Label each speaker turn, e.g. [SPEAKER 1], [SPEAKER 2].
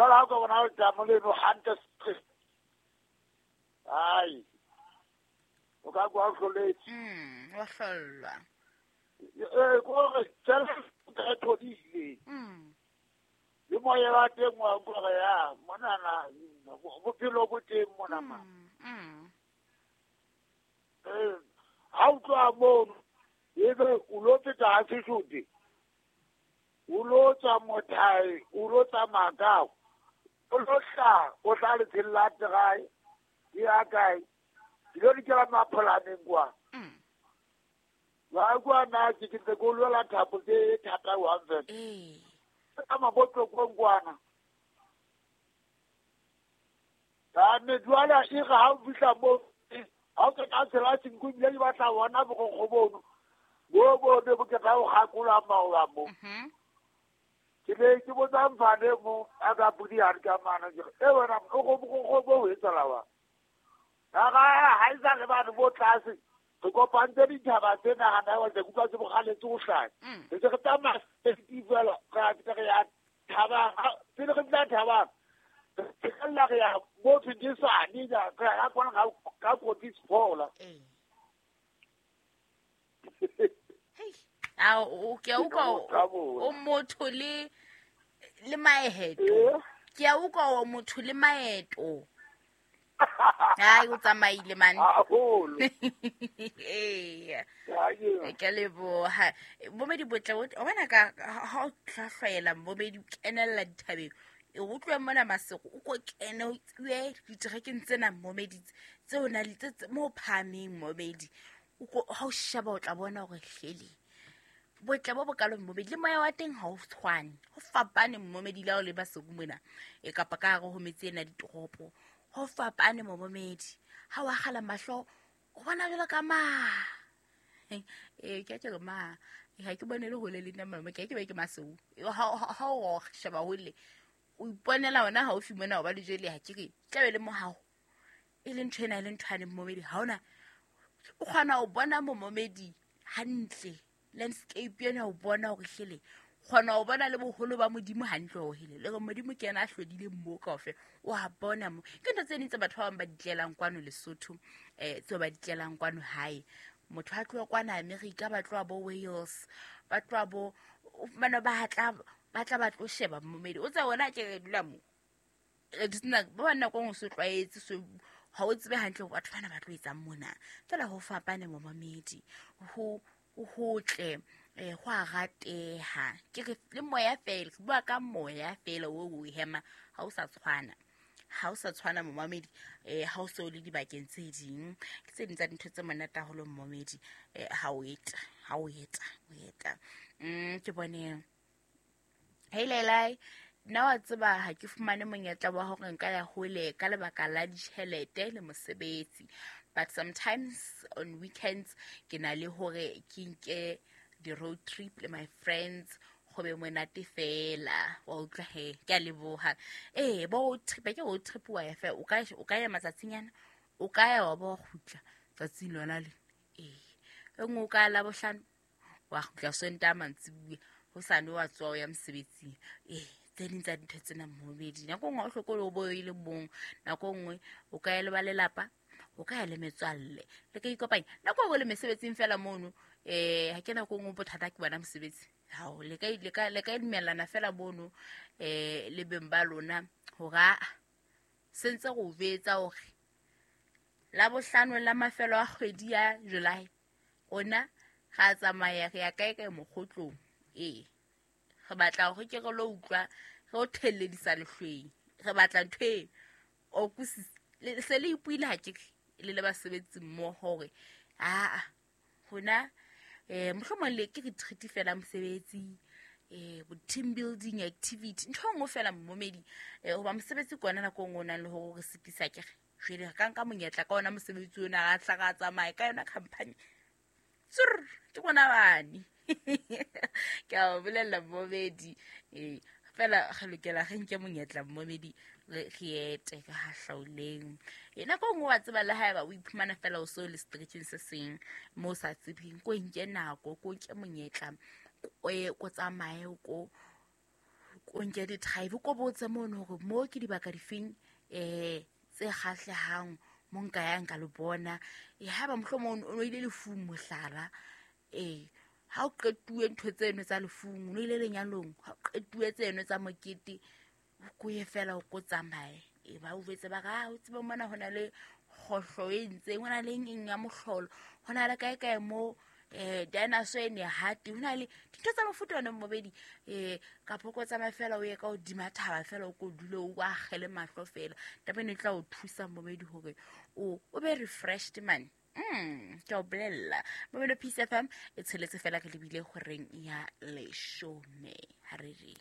[SPEAKER 1] Jwale ha o ka bona letamo leno hantle, ai o ka kwa o hloletse.
[SPEAKER 2] Wa hlollwa.
[SPEAKER 1] Ee, kore tsela e thodile. Le moya wa teng wa utlwa hore ya monana bophelo bo teng mona ma. Ee, ha o tloha mono ebe o lo feta ha Sesotho, o lo tswa Mothae, o lo tsamaya kao, o lo hlaha, o tla letsheng la Terae, ke ya kae, ke lo dikela Mapholaneng kwa. Ba kwa na ke ntse ke lwela thapo tse thata one fela. Ka mabotlokong kwana. Ka me jwale e re ha o fihla moo, ha o qeta tshela senko ebile di batla bona borokgo bono. Bo bo ne bo qeta ho kgakola maoba mo. Ke ne ke botsa mfane mo a ka podi hare ka mane ke re, e wena o go borokgo bo ho etsahala wa. Ka ra ha e sa le bane bo tlase. Re kopantse dithaba tse nahana wa tse kutlwa tse bogaletse ho hlaya. Re se re tsamaya fela re a fihla re ya thabang. Pele re fihla thabang, re qella re ya mo Phindisane, re ya kwana ka Kotis Phola.
[SPEAKER 2] Hei, a o ke a utlwa o motho le maeto. Ke a utlwa o motho le maeto. Hai, o tsamaile man.
[SPEAKER 1] Haholo.
[SPEAKER 2] Ee. Ke leboha. Momedi botle o bona ka ha o hlahlwaela momedi o kenella dithabeng. E utlwe mona Masego o ko kene o tswe diterekeng tsena momedi tseo na le tse mo phahameng momedi. O ko ha o sheba o tla bona hore hlele. Botle bo bokalo momedi le moya wa teng ha o tshwane. Ho fapane momedi la o le Masego mona. E kapa ka hare ho metse ena ditoropo. Ho fapane momedi. Ha wa kgala mahlo o bona jwalo ka ma. Ke ke ma. Ha ke bone le hole le nna mama, ke ke be ke Masego. Ha o sheba hole o iponela hona haufi mona o ba le jwele ha ke re tla be le mohao. E le ntho ena e le ntho ane momedi ha ona o kgona ho bona momedi hantle landscape ena o bona hore hlele kgona ho bona le boholo ba Modimo hantle ho hele le re Modimo ke yena a hlodile mo kaofela o a bona mo ke ntho tse ding tse batho ba bang ba di tlelang kwano Lesotho, tseo ba di tlelang kwano hae. Motho a tloha kwana America, ba tloha bo Wales, ba tloha bo bana ba tla ba tla ba tlo sheba momedi o tsa wona ke re dula mo re ditsena ba bana ko so tlwaetse so ha o tsebe hantle hore batho bana ba tlo etsang mona fela ho fapane momedi ho hotle, ho a rateha ke re le moya fela ke bua ka moya fela o o hema ha o sa tshwana ha o sa tshwana momamedi, ha o so le dibakeng tse ding ke tse ding tsa dintho tse monate haholo momedi, ha o eta ha o eta o eta. Ke bone hey Lelai, nna wa tseba ha ke fumane monyetla wa hore nka ya hole ka lebaka la ditjhelete le mosebetsi, but sometimes on weekends ke na le hore ke nke di-road trip le my friends go be monate fela. Wa utlwa he, ke a leboha. Ee, bo road trip, ke road trip wa ya fela, o ka ya matsatsinyana, o ka ya wa bo kgutla tsatsing lona le. Ee, e nngwe o ka ya Labohlano, wa kgutla Sontaha mantsibuya, hosane wa tswa o ya mosebetsing. Ee, tse ding tsa dintho tsena momedi nako nngwe o hlokole o bo e le mong, nako nngwe o ka ya le ba lelapa, o ka ya le metswalle, le ka ikopanya nako nngwe le mesebetsing fela mono. Ha ke nako nngwe bothata ke bona mosebetsi hao, le ka dumellana fela mono, le beng ba lona hore a sentse go betsa hore Labohlano la mafelo a kgwedi ya July rona ra tsamaya re ya kae kae mokgotlong. Ee, re batla hore ke re lo utlwa re o thelledisa lehlweng, re batla ntho e o kusisa le se le ipuile ha ke le le basebetsi mmoho hore aa hona, mohlomong le ke retreat fela mosebetsi, bo team building activity ntho e nngwe fela momedi, hoba mosebetsi ke ona nako e nngwe o nang le hore re sitisa ke re jwale re ka nka monyetla ka ona mosebetsi ona ra tla ra tsamaya ka yona company tsur ke rona bane. Ke a o bolella momedi, fela re lokela re nke monyetla momedi re ete ka ha hlaoleng. Nako e nngwe wa tseba le haeba o iphumana fela o so le stretching se seng mo o sa tsebeng, ko nke nako, ko nke monyetla, ko tsamaye, ko O nke di-drive, ko botse mono hore mo ke dibaka difeng tse kgahlehang mo nka yang ka le bona. Haeba mohlomong o no ile lefung mohlala, ha o qetuwe ntho tseno tsa lefung, o no ile lenyalong, ha o qetuwe tseno tsa mokete, o ko ye fela o ko tsamaye. Ba o jwetse ba re, o tsebe mona ho na le kgohlo e ntseng, ho na le eng ya mohlolo, ho na le kae kae mo dinosaur e ne hate, ho na le dintho tsa mofuta ona mmobedi. Kapa ko tsamaya fela o ye ka hodima thaba fela, o ko dule o akgele mahlo fela. Taba eno e tla o thusa mmobedi hore o be refreshed man. Ke o bolella Momeno Peace FM e tsheletse fela re lebile horeng ya 10 ha re re.